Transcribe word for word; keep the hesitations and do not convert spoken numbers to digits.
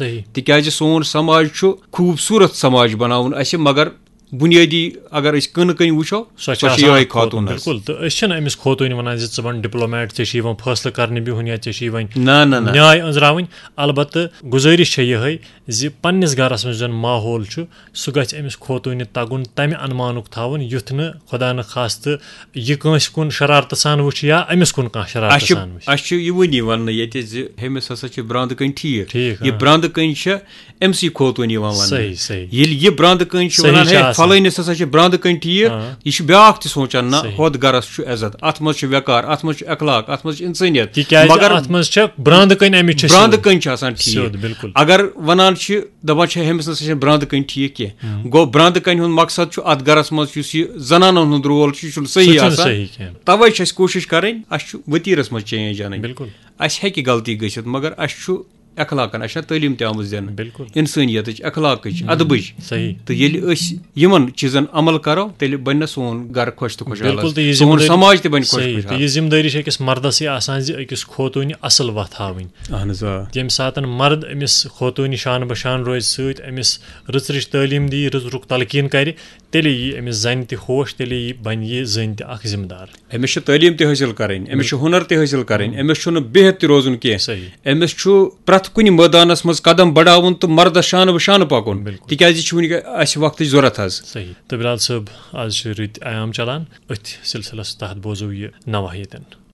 صحیح۔ تِکیازِ سون سماج چھُ خوٗبصوٗرت سماج بناوُن اَسہِ، مگر بُنیٲدی اگر أسۍ کٕنہٕ کٕنۍ وٕچھو، سۄ سۄ چھِ یِہوٚے آسان خاتوٗن حظ۔ بِلکُل۔ تہٕ أسۍ چھِنہٕ أمِس خوتوٗنہِ وَنان زِ ژٕ بَن ڈِپلومیٹ، ژےٚ چھِ یِوان فٲصلہٕ کَرنہٕ بِہُن یا ژےٚ چھِ یِوان نہ نہ نہ نیاے أنٛزراوٕنۍ۔ البتہٕ گُزٲرِش چھےٚ یِہوٚے زِ پنٛنِس گَرَس منٛز یُس زَن ماحول چھُ، سُہ گژھِ أمِس خوتوٗنہِ تَگُن تَمہِ اَنمانُک تھاوُن، یُتھ نہٕ خۄدا نہٕ خاستہٕ یہِ کٲنٛسہِ کُن شرارتہٕ سان وٕچھِ یا أمِس کُن کانٛہہ شرارتہٕ اَسہِ چھُ سان وٕچھِ۔ اَسہِ چھُ یِوٲنی وَننہٕ ییٚتہِ زِ ہُمِس ہسا چھِ برٛانٛدٕ کٔنۍ ٹھیٖک۔ ٹھیٖک، یہِ آ۔ برٛانٛدٕ کٔنۍ چھےٚ أمۍ سٕے خوتوٗنی یِوان وَننہٕ۔ صحیح، صحیح۔ ییٚلہِ یہِ برٛانٛدٕ کٔنۍ چھِ صحیح وَنان، چھِ ہے، آسان۔ فلٲنِس ہسا چھِ برٛانٛدٕ کٔنۍ ٹھیٖک، آ۔ یہِ چھُ بیٛاکھ تہِ سونٛچان، نہ، صحیح۔ ہُتھ گَرَس چھُ عزت، اَتھ منٛز چھُ وقار، اَتھ منٛز چھُ اخلاق، اَتھ منٛز چھُ اِنسٲنیت۔ تِکیٛازِ مگر اَتھ منٛز چھےٚ برٛانٛدٕ کٔنۍ اَمِچ چھےٚ برٛانٛدٕ سیوٚد۔ کٔنۍ چھِ آسان ٹھیٖک۔ سیوٚد، بِلکُل۔ اگر وَنان چھِ، دَپان چھِ، ہُمِس نہ سا چھِنہٕ برٛانٛدٕ کٔنۍ ٹھیٖک کینٛہہ۔ گوٚو، برٛانٛدٕ کٔنۍ ہُنٛد مقصد چھُ اَتھ گَرَس منٛز یُس یہِ زَنانَن ہُنٛد رول چھُ، یہِ چھُنہٕ سُہ صحیح چھُنہٕ آسان۔ صحیح کینٛہہ۔ تَوَے چھِ اَسہِ کوٗشِش کَرٕنۍ، اَسہِ چھُ ؤتیٖرَس منٛز چینج اَنٕنۍ۔ بِلکُل۔ اَسہِ ہیٚکہِ غلطی گٔژھِتھ، مگر اَسہِ چھُ اخلاقن، اَسہِ چھےٚ تعلیٖم تہِ آمٕژ دِنہٕ۔ بِلکُل۔ اِنسٲنیتٕچ، اخلاقٕچ، ادبٕچ۔ صحیح۔ تہٕ ییٚلہِ أسۍ یِمن چیٖزن عمل کرو، تیٚلہِ بنہِ نہ سون گرٕ خۄش تہٕ خۄشحال بِلکُل، حظ۔ تہٕ یہِ سون ذِمہٕ دٲری سماج تہِ بنہِ خۄش صحیح، تہٕ خۄشحال۔ یہِ ذِمہٕ دٲری چھِ أکِس مردسٕے آسان زِ أکِس خوتوٗنہِ اصٕل وَتھ ہاوٕنۍ۔ اہن حظ، آ۔ ییٚمہِ ساتہٕ مرد أمِس خوتوٗنہِ شانہٕ بہ شان روزِ سۭتۍ، أمِس رٕژ رٕژ تعلیٖم دی، رٕژ رُک تلقیٖن کرِ، تیٚلے یی أمِس زنہِ تہِ ہوش، تیٚلے یی، بنہِ یہِ زٔنۍ تہِ اکھ ذِمہٕ دار۔ أمِس چھِ تعلیٖم تہِ حٲصِل کرٕنۍ، أمِس چھُ ہُنر تہِ حٲصِل کرٕنۍ، أمِس چھُنہٕ بِہِتھ تہِ روزُن کینٛہہ۔ صحیح۔ أمِس چھُ پرٛٮ۪تھ کُنہِ مٲدانس منٛز قدم بڑاوُن تہٕ مردس شانہٕ بہ شانہٕ پکُن، بِلکُل۔ تِکیازِ یہِ چھُ وٕنہِ اسہِ وقتٕچ ضروٗرت حظ۔ صحیح۔ تہٕ بلال صٲب، آز چھِ رٕتۍ ایام چلان، أتھۍ سلسلس تحت بوزو یہِ نواحیتن۔